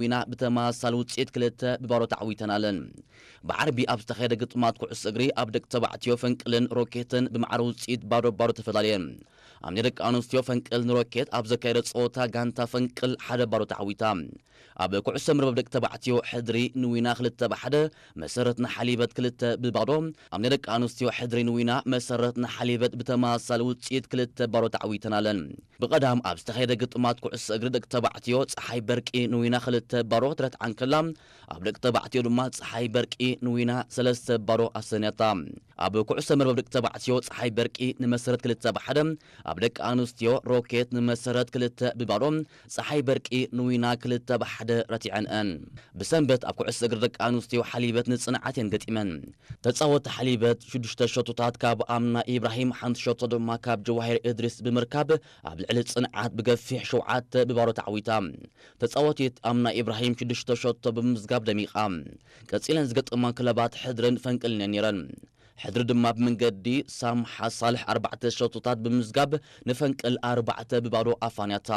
ዊና ብተመሳሳሊ ውፅኢት ክልተ ብባዶ ተዓዊተን ኣለን። ብዓርቢ ኣብ ዝተኻየደ ግጥማት ኩዕሶ እግሪ ኣብ ደቂ ተባዕትዮ ፈንቅልን ሮኬትን ብማዕረ ውፅኢት ባዶ ባዶ ተፈላለየን። ኣብ ናይ ደቂ ኣንስትዮ ፈንቅል ንሮኬት ኣብ ዘካየደ ፀወታ ጋንታ ፈንቅል ሓደ ባዶ ተዓዊታ። ኣብ ኩዕሶ መርበብ ደቂ ተባዕትዮ ሕድሪ ንዊና ክልተ ብሓደ፣ መሰረት ንሓሊበት ክልተ ብባዶ። ኣብ ናይ ደቂ ኣንስትዮ ሕድሪ ንዊና መሰረት ንሓሊበት ብተመሳሳሊ ውፅኢት ክልተ ባዶ ተዓዊተን ኣለን። ብቐዳም ኣብ ዝተኻየደ ግጥማት ኩዕሶ እግሪ ደቂ ተባዕትዮ ፀሓይ በርቂ ንዊና ክልተ ባዶ ክትረትዓ እንከላ፣ ኣብ ደቂ ተባዕትዮ ድማ ፀሓይ በርቂ ንዊና ሰለስተ ባዶ ኣሰንያታ። ኣብ ኩዕሶ መርበብ ደቂ ተባዕትዮ ፀሓይ በርቂ ንመሰረት ክልተ ብሓደ፣ ኣብ ደቂ ኣንስትዮ ሮኬት ንመሰረት ክልተ ብባዶ፣ ፀሓይ በርቂ ንዊና ክልተ ብሓደ ረቲዐንአን። ብሰንበት ኣብ ኩዕሶ እግሪ ደቂ ኣንስትዮ ሓሊበት ንፅንዓት እየን ገጢመን። ተፃወቲ ሓሊበት ሽዱሽተ ሸቶታት ካብ ኣምና ኢብራሂም፣ ሓንቲ ሸቶ ድማ ካብ ጀዋሂር እድሪስ ብምርካብ ኣብ ልዕሊ ፅንዓት ብገፊሕ ሸውዓተ ብባዶ ተዓዊታ። ተፃወቲት ኣምና ኢብራሂም ሽዱሽተ ሸቶ ብምምዝጋብ ደሚቓ። ቀፂለን ዝገጠማ ክለባት ሕድርን ፈንቅልን እየን ነይረን። ሕድሪ ድማ ብመንገዲ ሳምሓ ሳልሕ ኣርባዕተ ሸቶታት ብምምዝጋብ ንፈንቅል ኣርባዕተ ብባዶ ኣፋንያታ።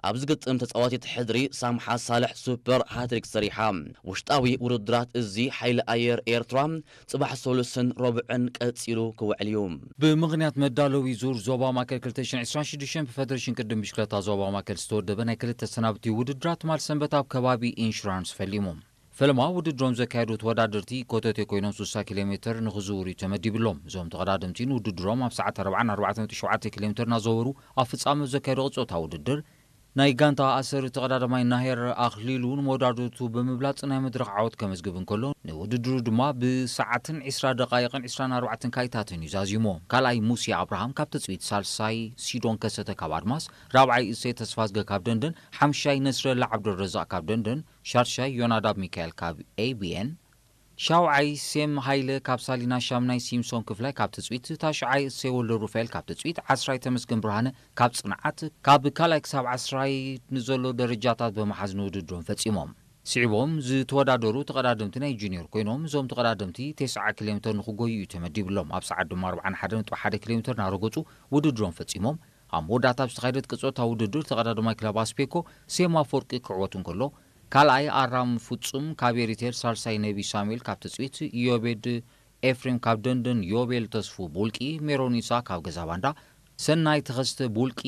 ኣብዚ ግጥም ተፃዋቲት ሕድሪ ሳምሓ ሳልሕ ሱፐር ሃትሪክ ሰሪሓ። ውሽጣዊ ውድድራት እዚ ሓይሊ ኣየር ኤርትራ ጽባሕ ሰሉስን ረቡዕን ቀጺሉ ክውዕል እዩ። ብምኽንያት መዳለዊ ዙር ዞባ ማእከል ክልተ ሽሕን ዕስራን ሽዱሽተን ብፈደሬሽን ቅድም ብሽክለታ ዞባ ማእከል ዝተወደበ ናይ ክልተ ሰናብቲ ውድድራት ትማል ሰንበት ኣብ ከባቢ ኢንሹራንስ ፈሊሙ። ፈለማ ውድድሮም ዘካየዱ ተወዳደርቲ ኮተቴ ኮይኖም ስሳ ኪሎ ሜትር ንኽዝውሩ እዩ ተመዲብሎም። እዞም ተቐዳደምቲ ንውድድሮም ኣብ ሰዓት ኣርባዓን ኣርባዕተ ነጥቢ ሸውዓተ ኪሎ ሜትር እናዘወሩ ኣብ ፍጻመ ዘካየዱ ቅጾታ ውድድር ናይ ጋንታ ኣሰሪ ተቐዳዳማይ ናሄር ኣኽሊሉ ንመወዳድርቱ ብምብላጽ ናይ መድረኽ ዓወት ከመዝግብ እንከሎ፣ ንውድድሩ ድማ ብሰዓትን ዕስራ ደቓይቕን ዕስራን ኣርባዕተን ካይታትን እዩ ዛዚሞ። ካልኣይ ሙሴ ኣብርሃም ካብ ትጽቢት፣ ሳልሳይ ሲዶን ከሰተ ካብ ኣድማስ፣ ራብዓይ እሴ ተስፋዝገ ካብ ደንደን፣ ሓምሻይ ነስረላ ዓብደረዛቕ ካብ ደንደን፣ ሻድሻይ ዮናዳብ ሚካኤል ካብ ኤ ቢ ኤን፣ ሻውዓይ ሴም ሃይለ ካብ ሳሊና፣ ሻምናይ ሲምሶን ክፍላይ ካብ ትጽቢት፣ ታሽዓይ እሴ ወልደ ሩፋኤል ካብ ትጽቢት፣ ዓስራይ ተመስገን ብርሃነ ካብ ጽንዓት፣ ካብ ካልኣይ ክሳብ ዓስራይ ንዘሎ ደረጃታት ብምሓዝ ንውድድሮም ፈጺሞም። ስዒቦም ዝተወዳደሩ ተቐዳደምቲ ናይ ጁኒዮር ኮይኖም፣ እዞም ተቐዳደምቲ ተስዓ ኪሎ ሜትር ንኽጎዩ እዩ ተመዲብሎም። ኣብ ሰዓት ድማ ኣርባዓን ሓደን ነጥቢ ሓደ ኪሎ ሜትር እናረገጹ ውድድሮም ፈጺሞም። ኣብ መወዳእታ ኣብ ዝተኻየደት ቅጽበታዊ ውድድር ተቐዳዳማይ ክለብ ኣስፔኮ ሴማ ኣፈወርቂ ክዕወት እንከሎ፣ ካልኣይ ኣራም ፍጹም ካብ ኤሪቴል፣ ሳልሳይ ነቢ ሳሙኤል ካብ ትጽቢት፣ ኢዮቤድ ኤፍሬም ካብ ደንደን፣ ዮቤል ተስፉ ቡልቂ፣ ሜሮን ኢሳ ካብ ገዛ ባንዳ፣ ሰናይ ተኸስተ ቡልቂ፣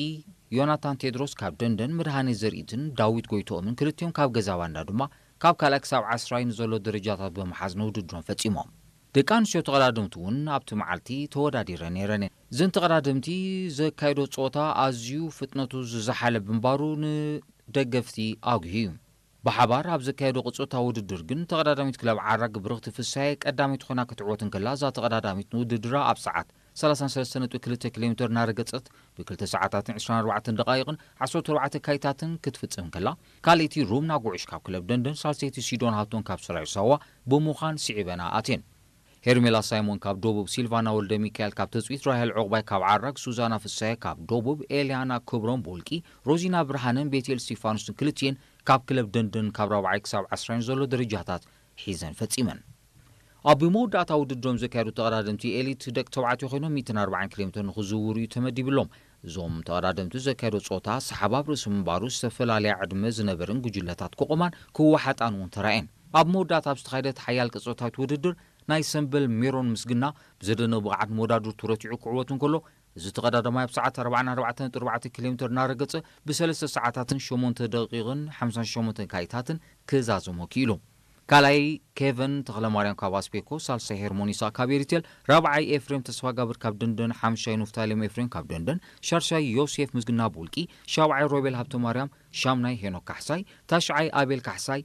ዮናታን ቴድሮስ ካብ ደንደን፣ መድሃኔ ዘርኢትን ዳዊት ጎይትኦምን ክልቲኦም ካብ ገዛ ባንዳ ድማ ካብ ካልኣይ ክሳብ ዓስራይ ንዘሎ ደረጃታት ብምሓዝ ንውድድሮም ፈጺሞም። ደቂ ኣንስትዮ ተቐዳደምቲ እውን ኣብቲ መዓልቲ ተወዳዲረን ነይረን እየን። እዘን ተቐዳደምቲ ዘካየዶ ጸወታ ኣዝዩ ፍጥነቱ ዝዘሓለ ብምንባሩ ንደገፍቲ ኣጉሂ እዩ። ብሓባር ኣብ ዘካየዶ ቅጽበታዊ ውድድር ግን ተቐዳዳሚት ክለብ ዓራግ ብርኽቲ ፍሳየ ቀዳመይቲ ኮይና ክትዕወት እንከላ፣ እዛ ተቐዳዳሚት ንውድድራ ኣብ ሰዓት ሰላሳን ሰለስተን ነጥቢ ክልተ ኪሎ ሜትር እናረገጸት ብክልተ ሰዓታትን ዕስራን ኣርባዕተን ደቓይቕን ዓሰርተ ኣርባዕተ ካይታትን ክትፍጽም እንከላ፣ ካልኣይቲ ሩምና ጉዕሽ ካብ ክለብ ደንደን፣ ሳልሰይቲ ሲዶን ሃብቶም ካብ ሰራዩ ሳዋ ብምዃን ስዒበና ኣትየን። ሄርሜላ ሳይሞን ካብ ደቡብ፣ ሲልቫና ወልደ ሚካኤል ካብ ትጽቢት፣ ራሄል ዑቕባይ ካብ ዓራግ፣ ሱዛና ፍሳየ ካብ ደቡብ፣ ኤልያና ክብሮም ብውልቂ፣ ሮዚና ብርሃነን ቤቴል እስቲፋኖስን ክልቲኤን ካብ ክለብ ደንደን ካብ ራብዓይ ክሳብ ዓስራይን ዘሎ ደረጃታት ሒዘን ፈጺመን። ኣብ መወዳእታ ውድድሮም ዘካየዱ ተቐዳደምቲ ኤሊት ደቂ ተባዕትዮ ኮይኖም ሚእትን ኣርባዓን ኪሎ ሜትር ንኽዝውሩ እዩ ተመዲብሎም። እዞም ተቐዳደምቲ ዘካየዶ ጸወታ ሰሓብ ኣብ ርእሲ ምንባሩ ዝተፈላለያ ዕድመ ዝነበረን ጉጅለታት ክቆማን ክወሓጣን እውን ተራእየን። ኣብ መወዳእታ ኣብ ዝተኻየደት ሓያል ቅጽበታዊት ውድድር ናይ ሰምበል ሜሮን ምስግና ብዘደንቕ ብቕዓት ንመወዳድርቱ ረቲዑ ክዕወት እንከሎ፣ እዚ ተቐዳዳማይ ኣብ ሰዓት ኣርባዓን ኣርባዕተን ነጥቢ ኣርባዕተ ኪሎ ሜትር እናረገጸ ብሰለስተ ሰዓታትን ሸሞንተ ደቂቕን ሓምሳን ሸሞንተን ካይታትን ክዛዘሞ ክኢሉ። ካልኣይ ኬቨን ተኽለማርያም ካብ ኣስፔኮ፣ ሳልሳይ ሄርሞኒሳ ካብ ኤሪቴል፣ ራብዓይ ኤፍሬም ተስፋጋብር ካብ ደንደን፣ ሓምሻይ ኑፍታሌም ኤፍሬም ካብ ደንደን፣ ሻድሻይ ዮሴፍ ምስግና ብውልቂ፣ ሻብዓይ ሮቤል ሃብተማርያም፣ ሻምናይ ሄኖክ ካሕሳይ፣ ታሽዓይ ኣቤል ካሕሳይ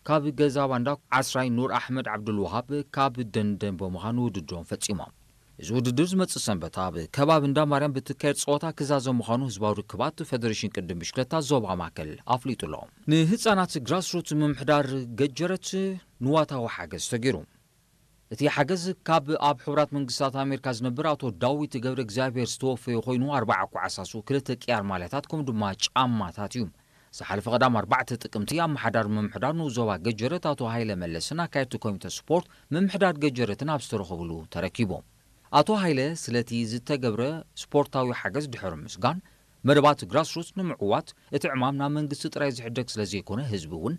ካብ ገዛ ባንዳ፣ ዓስራይ ኑር ኣሕመድ ዓብዱልወሃብ ካብ ደንደን ብምዃኑ ውድድሮም ፈጺሞም። እዚ ውድድር ዝመጽእ ሰንበት ኣብ ከባቢ እንዳ ማርያም ብትካየድ ጸወታ ክዛዘም ምዃኑ ህዝባዊ ርክባት ፈደሬሽን ቅድም ብሽክለታ ዞባ ማእከል ኣፍሊጡ ኣሎ። ንህጻናት ግራስሩት ምምሕዳር ገጀረት ንዋታዊ ሓገዝ ተገይሩ። እቲ ሓገዝ ካብ ኣብ ሕቡራት መንግስታት ኣሜሪካ ዝነብር ኣቶ ዳዊት ገብረ እግዚኣብሔር ዝተወፈየ ኮይኑ፣ ኣርባዓ ኳዕሳሱ፣ ክልተ ቅያር ማልያታት ከምኡ ድማ ጫማታት እዩ። ዝሓለፈ ቀዳም ኣርባዕተ ጥቅምቲ ኣመሓዳሪ ምምሕዳር ንኡስ ዞባ ገጀረት ኣቶ ሃይለ መለስን ኣካየድቲ ኮሚተ ስፖርት ምምሕዳር ገጀረትን ኣብ ዝተረኸብሉ ተረኪቡ። ኣቶ ሃይለ ስለቲ ዝተገብረ ስፖርታዊ ሓገዝ ድሕሪ ምስጋን፣ መደባት ግራስሩት ንምዕዋት እቲ ዕማም ናብ መንግስቲ ጥራይ ዝሕደግ ስለ ዘይኮነ ህዝቢ እውን